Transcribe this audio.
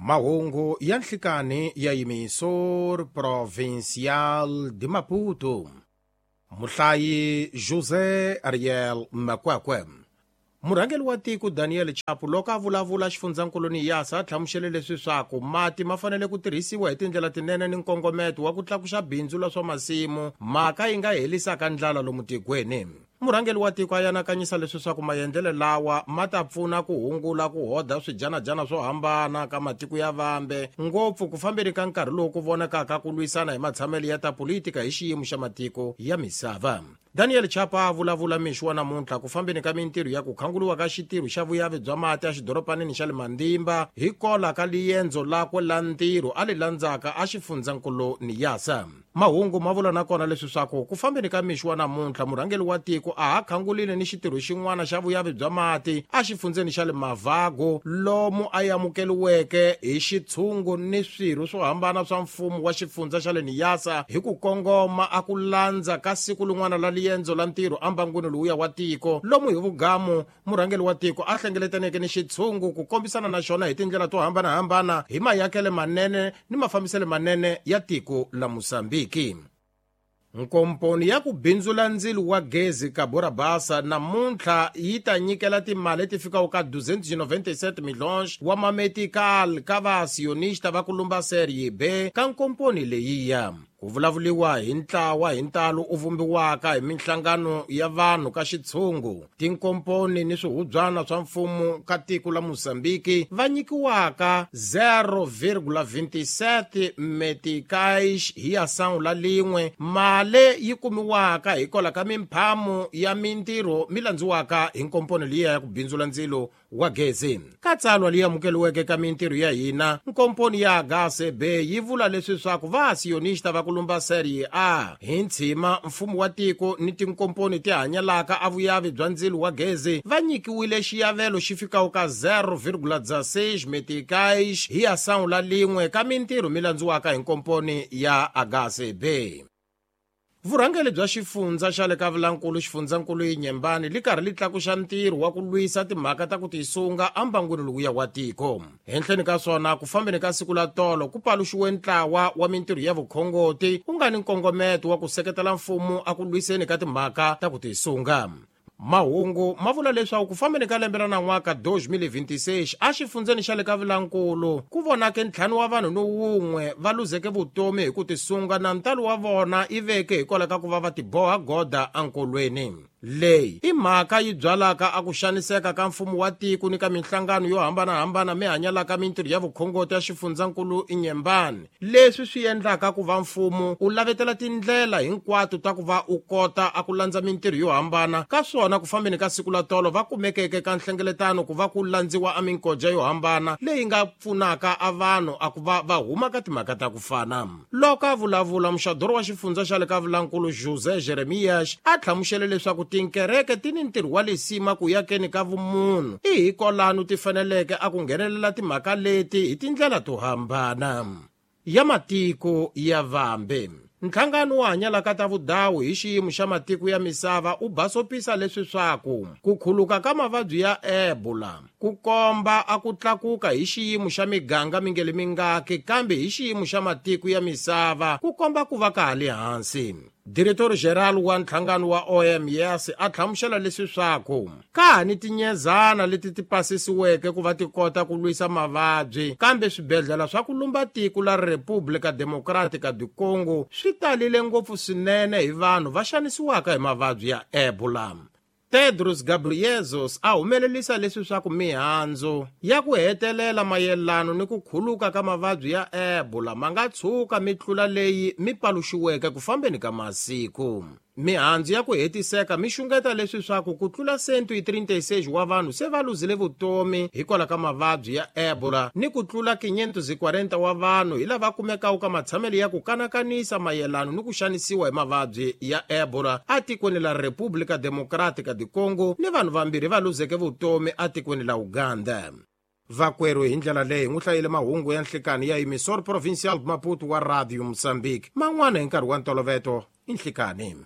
Mahungu ya nhlikani ya Emissor Provincial de Maputo. Muhlayi José Ariel Makwakwe. Murhangeri wa tiko Daniel Chapo loko a vulavula xifundzankulu Niassa a hlamusele leswi swaku mati ma fanele ku tirhisiwa hi tindlela tinene ni nkongometo wa ku tlakuxa bindzu la swa masimu, mhaka yi nga helisaka ndlala lomu tikweni. Murhangeri wa tiko a yanakanyisa leswi swaku maendlelo lawa ma ta pfuna ku hungula ku hoda swijanajana swo hambana ka matiko ya vambe, ngopfu ku fambeni ka nkarhi lowu ku vonakaka ku lwisana hi matshamelo ya ta politika hi xiyimo xa matiko ya misava. Daniel Chapo a vulavula mixo wa namuntlha ku fambeni ka mintirho ya ku khanguliwa ka xitirho xa vuyavi bya mati exidoropanini xa le Mandimba hi kola ka liendzo lakwe la ntirho a li landzaka a xifundzankulu Niassa. Mahungu ma vula na kona leswi swaku ku fambeni ka mixo wa namuntlha murhangeri wa tiko a ha khangulile ni xitirho xin'wana xa vuyavi bya mati exifundzeni xa le Mavago lomu a amukeliweke hi xitshungu ni swirho swo hambana swa mfumo wa xifundza xa le Niassa hi ku kongoma a ku landza ka siku lin'wana la liendzo la ntirho ambangwini lowuya wa tiko lomu hi vugamu murhangeri wa tiko a hlengeletaneke ni xitshungu ku kombisana na xona hi tindlela to hambanahambana hi mayakele manene ni mafambiselo manene ya tiko la Mosambiki. Nkomponi ya ku bindzula ndzilo wa gezi ka Borabasa namuntlha yi ta nyikela timali leti fikaka ka 297 milhões wa mametical ka vasionista va ku lumba Serie B ka nkomponi leyiya. Ku vulavuliwa hi ntlawa hi ntalo u vumbiwaka hi minhlangano ya vanhu ka xitshungu, tinkomponi ni swihubyana swa mfumo ka tiko la Mozambiki va nyikiwaka 0,27 meticais hi ação la lin'we, mali yi kumiwaka hikwalaho ka mimphamo ya mintirho mi landziwaka hi nkomponi liya ya ku bindzula ndzilo wa gezi. Ka tsalwa leyi amukeliweke ka mintirho ya hina, nkomponi ya HCB yi vula leswi swaku vasionista va ku lumba Serie A hi ntshima mfumo wa tiko ni tinkomponi ti hanyalaka a vuyavi bya ndzilo wa gezi va nyikiwile xiyavelo xi fikaka ka 0,16 meticais hi ação la lin'we ka mintirho mi landziwaka hi nkomponi ya HCB. Vurhangeri bya xifundza xa le ka Vilankulu xifundzankulu Inyembani li karhi li tlakuxa ntirho wa ku lwisa timhaka ta ku tisunga ambangwini lowuya wa tiko. Henhleni ka swona ku fambeni ka siku la tolo ku paluxiwe ntlawa wa mintirho ya vukhongoti ku nga ni nkongometo wa ku seketela mfumo a ku lwiseni ka timhaka ta ku tisunga. Mahungu ma vula leswaku ku fambeni ka lembe ra nan'waka 2026 exifundzeni xa le ka Vilankulu ku vonake ntlhanu wa vanhu ni wun'we va luzeke vutomi hi ku tisunga na ntalo wa vona i veke hikwalaho ka ku va va tiboha goda enkolweni. Leyi i mhaka yi byalaka a ku xaniseka ka mfumo wa tiko ni ka minhlangano yo hambanahambana mi hanyalaka mintirho ya vukhongoti ya xifundzankulu Inyembani, leswi swi endlaka ku va mfumo u lavetela tindlela hinkwato ta ku va u kota a ku landza mintirho yo hambana ka swona. Ku fambeni ka siku la tolo va kumekeke ka nhlengeletano ku va ku landziwa a minkoja yo hambana leyi nga pfunaka a vanhu a ku va va huma ka timhaka ta ku fana. Loko a vulavula muxadoro wa xifundza xa le ka Vilankulu José Jeremias a hlamusele leswaku tinkereke ti ni ntirho wa lisima ku yakeni ka vumunhu, i hikolano ti faneleke a ku nghenelela timhaka leti hi tindlela to hambana. Ya matiko ya vambe. Nhlangano wo hanyalaka ta vudawu hi xiyimo xa matiko ya misava u basopisa leswi swaku ku khuluka ka mavabyi ya Ebola ku komba a ku tlakuka hi xiyimo xa miganga mingeli mingaki, kambe hi xiyimo xa matiko ya misava ku komba ku va ka ha le hansi. Diretor General wa nhlangano wa OMS a hlamusela leswi swaku ka ha ni tinyezana leti ti pasisiweke ku va ti kota ku lwisa mavabyi, kambe swibedhlele swa ku lumba tiko la República Democrática do Congo swi talile ngopfu swinene hi vanhu va xanisiwaka hi mavabyi ya Ebola. Tedros Ghebreyesus a humelelisa leswi swa ku mihandzu ya ku hetelela mayelano ni ku khuluka ka mavabyi ya Ebola ma nga tshuka mi tlula leyi mi paluxiweke ku fambeni ka masiku. Mihandzu ya ku hetiseka mi xungeta leswi swa ku ku tlula 136 wa vanhu se va luzile vutomi hikwalaho ka mavabyi ya Ebola ni ku tlula 540 wa vanhu hi lava kumekaka ka matshamelo ya ku kanakanisa mayelano ni ku xanisiwa hi mavabyi ya Ebola atikweni la República Democrática do Congo ni vanhu vambirhi va luzeke vutomi atikweni la Uganda. Vakwerhu hi ndlela leyi n'wi hlayile mahungu ya nhlikani ya Emissor Provincial Maputo wa Radio Mozambique, man'wana hi nkarhi wa ntoloveto i nhlikani.